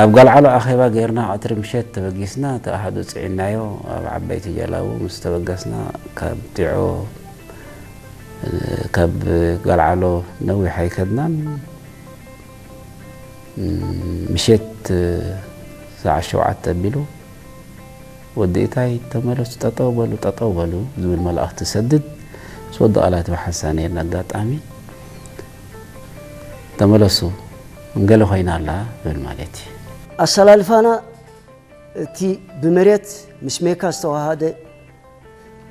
ኣብ ጋልዓሎ ኣኼባ ጌርና ቀትሪ ምሸት ተበጊስና፣ እቲ ኣሃዱ ጽዒናዮ ኣብ ዓበይቲ ጀላቡ ምስ ተበገስና፣ ካብ ጢዖ፣ ካብ ጋልዓሎ ነዊሕ ኣይከድናን። ምሸት ሰዓት ሸውዓተ ኣቢሉ፣ "ወዲ እታይ ተመለሱ፣ ጠጠው በሉ፣ ጠጠው በሉ" ዝብል መልእኽቲ ሰድድ። ምስ ወዲ ቃላት ብሓንሳብ ነይርና ኣጋጣሚ። "ተመለሱ፣ እንገለ ኮይና ኣላ" ዝብል ማለት እዩ። ኣሰላልፋና እቲ ብመሬት ምስ ሜካ ዝተዋሃደ፣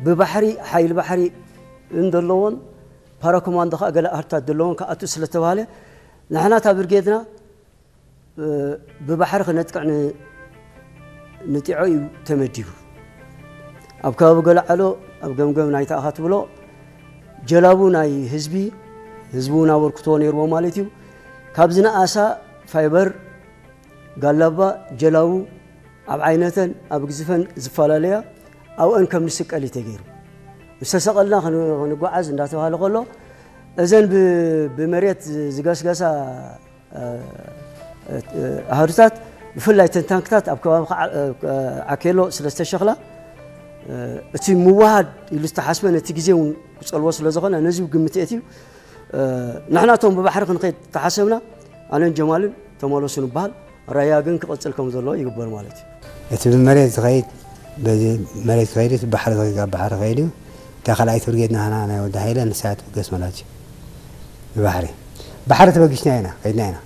ብባሕሪ ሓይሊ ባሕሪ እንደለዎን፣ ፓራኮማንዶ ከኣ ገለ ኣሃዱታት ዘለዎን ክኣቱ ስለተባሃለ፣ ንሕና እታ ብርጌድና፣ እ፣ ብባሕሪ ክነጥቅዕ ን-፣ ንጢዖ እዩ ተመዲቡ። ኣብ ከባቢ ገለዓሎ፣ ኣብ ገምገም ናይታ ኢኻ ትብሎ፣ ጀላቡ ናይ ህዝቢ፣ ህዝቢ እውን ኣበርክቶ ነይርዎ ማለት እዩ። ካብ ዝነኣሳ ፋይበር፣ ጋላባ፣ ጀላቡ፣ ኣብ ዓይነተን ኣብ ግዝፈን ዝፈላለያ፣ ኣብአን ከም ንስቀል እዩ ተገይሩ። ምስ ተሰቐልና ክን-፣ ክንጓዓዝ እንዳተባሃለ ከሎ፣ እዘን ብ-፣ ብመሬት ዝገስገሳ፣ እ፣ እ፣ ኣሃዱታት፣ ብፍላይ እተን ታንክታት ኣብ ከባቢ ከዓ-፣ እ፣ ዓኬሎ ስለ ዝተሸኽላ፣ እ፣ እቲ ምውሃድ ኢሉ ዝተሓስበ ነቲ ግዜ እውን ክጸልዎ ስለ ዝኾነ፣ ነዚ ግምት የእትዩ። እ፣ ንሕና እቶም ብባሕሪ ክንኸይድ ተሓሰብና፣ ኣነን ጀማልን ተመለሱ ንበሃል። ራያ ግን ክቕጽል ከም ዘለዎ ይግበር ማለት እዩ። እቲ ብመሬት ዝኸይድ፣ በዚ መሬት ክኸይድ፣ እቲ ባሕሪ ዝኸይድ፣ ኣብ ባሕሪ ክኸይድ እዩ። እታ ካልኣይቲ ብርጌድ ናህና ናይ ወዲ ሃይለ ንሳ እያ ትብገስ ማለት እዩ። ብባሕሪ፣ ባሕሪ ተበጊስና ኢና፣ ከይድና ኢና።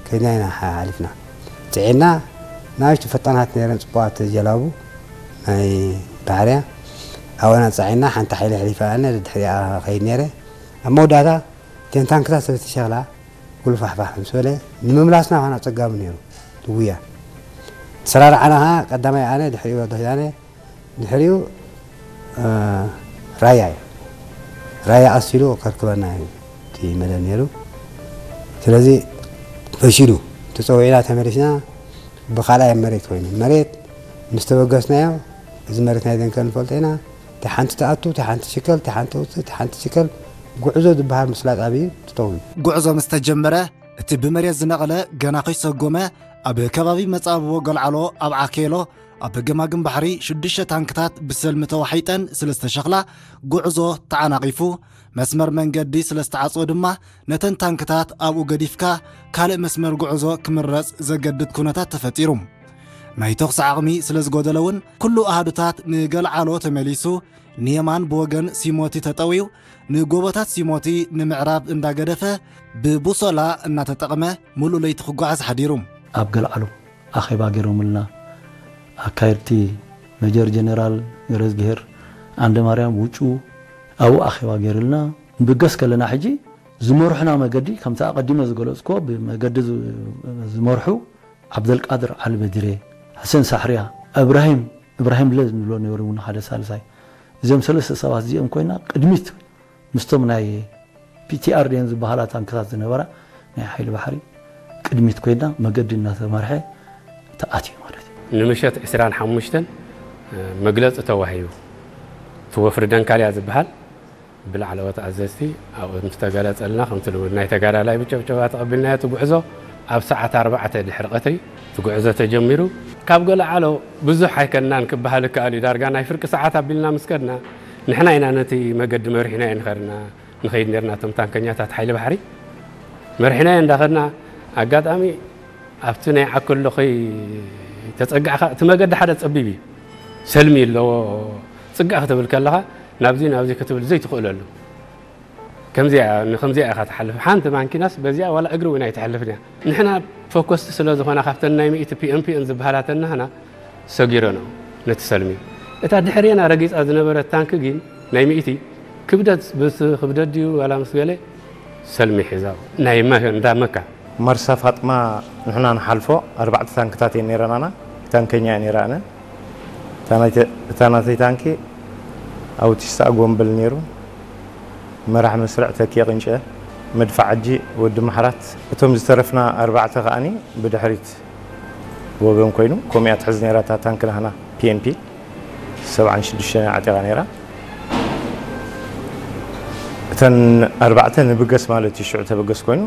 ከይድና ኢና ሓ-፣ ሓሊፍና። ጽዒና፣ ንኣሽቱ ፈጣናት ነይረን፣ ጽቡቓት ጀላቡ ናይ ባሕርያ። ኣብኣና ጸዒና፣ ሓንቲ ሓይሊ ኣሕሊፋ ኣነ፣ ድሕሪኣ ከይድ ነይረ። ኣብ መወዳእታ፣ እተን ታንክታት ስለ ዝተሸኽላ፣ ጉልፋሕፋሕ ምስ በለ፣ ንምምላስና ኾነ ኣጸጋሚ ነይሩ፣ እቲ ጉያ። ተሰራርዓና ኸዓ፣ ቀዳማይ ኣነ፣ ድሕሪኡ ወዲ ኪዳነ፣ ድሕሪኡ፣ እ፣ ራያ እዩ። ራያ ቀሲሉ ከርክበና እዩ እቲ መደብ ነይሩ። ስለዚ፣ ፈሺሉ፣ ተጸዊዕና ተመሊስና፣ ብኻልኣይ መሬት ኮይኑ። መሬት ምስ ተበገስናዮ፣ እዚ መሬት ናይ ደንከል ንፈልጦ ኢና። እቲ ሓንቲ ትኣቱ፣ እቲ ሓንቲ ትሽከል፣ እቲ ሓንቲ ትውፅእ፣ እቲ ሓንቲ ትሽከል፣ ጉዕዞ ዝበሃል ምስላጥ ኣብዩ ትጠውዩ። ጉዕዞ ምስ ተጀመረ፣ እቲ ብመሬት ዝነቐለ ገና ከይሰጎመ፣ ኣብ ከባቢ መጻብቦ ገልዓሎ፣ ኣብ ዓኬሎ፣ ኣብ ገማግም ባሕሪ ሽዱሽተ ታንክታት ብሰልሚ ተዋሒጠን ስለ ዝተሸኽላ፣ ጉዕዞ ተዓናቒፉ። መስመር መንገዲ ስለ ዝተዓጽወ ድማ፣ ነተን ታንክታት ኣብኡ ገዲፍካ፣ ካልእ መስመር ጉዕዞ ክምረጽ ዘገድድ ኩነታት ተፈጢሩ። ናይ ተኹሲ ዓቕሚ ስለ ዝጎደለ እውን፣ ኩሉ ኣሃዱታት ንገልዓሎ ተመሊሱ፣ ንየማን ብወገን ሲሞቲ ተጠውዩ፣ ንጎቦታት ሲሞቲ ንምዕራብ እንዳገደፈ፣ ብቡሶላ እናተጠቕመ፣ ምሉእ ለይቲ ክጓዓዝ ሓዲሩ። ኣብ ገልዓሎ ኣኼባ ገይሮምልና፣ ኣካየድቲ ሜጀር ጀነራል ገረዝግሄር ዓንደማርያም ውጩ ኣብኡ ኣኼባ ገይሩልና። ንብገስ ከለና ሕጂ ዝመርሑና መገዲ፣ ከምቲ ኣቐዲመ ዝገለጽኩዎ፣ ብመገዲ ዝ-፣ ዝመርሑ ዓብደልቃድር ዓሊ በድሬ፣ ሕሴን ሳሕርያ፣ እብራሂም፣ እብራሂም ለ ንብሎ ነይሩ እውን ሓደ ሳልሳይ። እዚኦም ሰለስተ ሰባት እዚኦም ኮይና ቅድሚት ምስቶም ናይ ፒ ቲ ኣር ድየን ዝበሃላ ታንክታት ዝነበራ ናይ ሓይሊ ባሕሪ ቅድሚት ኮይና መገዲ እናተመርሐ ተኣትዩ ማለት እዩ። ንምሸት ዕስራን ሓሙሽተን መግለጺ ተዋሂቡ። እቲ ወፍሪ ደንካልያ ዝበሃል ብላዕለዎት ኣዘዝቲ ኣብኡ ምስ ተገለጸልና፣ ከምቲ ልሙድ ናይ ተጋዳላይ ብጨብጨባ ተቐቢልናዮ። እቲ ጉዕዞ ኣብ ሰዓት ኣርባዕተ ድሕሪ ቀትሪ እቲ ጉዕዞ ተጀሚሩ። ካብ ገለዓሎ ብዙሕ ኣይከድናን ክበሃል ይከኣል እዩ። ዳርጋ ናይ ፍርቂ ሰዓት ኣቢልና ምስ ከድና፣ ንሕና ኢና ነቲ መገዲ መሪሕናዮ ንኸድና፣ ንኸይድ ኔርና። እቶም ታንከኛታት ሓይሊ ባሕሪ መሪሕናዮ እንዳኸድና፣ ኣጋጣሚ ኣብቲ ናይ ዓከሎ ከይተጸጋዕካ፣ እቲ መገዲ ሓደ ጸቢብ እዩ፣ ሰልሚ ኣለዎ። ጽጋዕ ክትብል ከለኻ፣ ናብዚ ናብዚ ክትብል ዘይትኽእለሉ። ከምዚኣ፣ ንከምዚኣ ኢኻ ትሓልፍ። ሓንቲ ማንኪናስ በዚኣ ዋላ እግሪ እውን ኣይትሓልፍን እያ። ንሕና ፎከስቲ ስለ ዝኾና፣ ካብተን ናይ ሚእቲ ፒ ኤም ፒ ኤን ዝበሃላ ተናህና ሰጊረንኦ ነቲ ሰልሚ። እታ ድሕሬና ረጊጻ ዝነበረት ታንኪ ግን፣ ናይ ሚእቲ፣ ክብደት ምስ ክብደት ድዩ ዋላ ምስ ገለ፣ ሰልሚ ሒዛ። ናይ መ-፣ እንዳ መካ። መርሳ ፋጥማ ንሕና ንሓልፎ ኣርባዕተ ታንክታት እየን ነይረናና። ታንከኛ እያ ነይራ ኣነ። እታ ናይተ-፣ እታ ናተይ ታንኪ ኣውቲስታ ጎምበል ነይሩ። መራሕ መስርዕ ተኪኤ ቅንጨ፣ መድፍዕ ዓጂ ወዲ ማሕራት። እቶም ዝተረፍና ኣርባዕተ ከኣኒ ብድሕሪት ወገን ኮይኑ፣ ከምኡ እያ ትሕዝ ነይራ እታ ታንኪ ናህና ፒ ኤም ፒ ሰብዓን ሽዱሽተን ዓጢቓ ነይራ። እተን ኣርባዕተ ንብገስ ማለት እዩ፣ ሽዑ ተበገስ ኮይኑ፣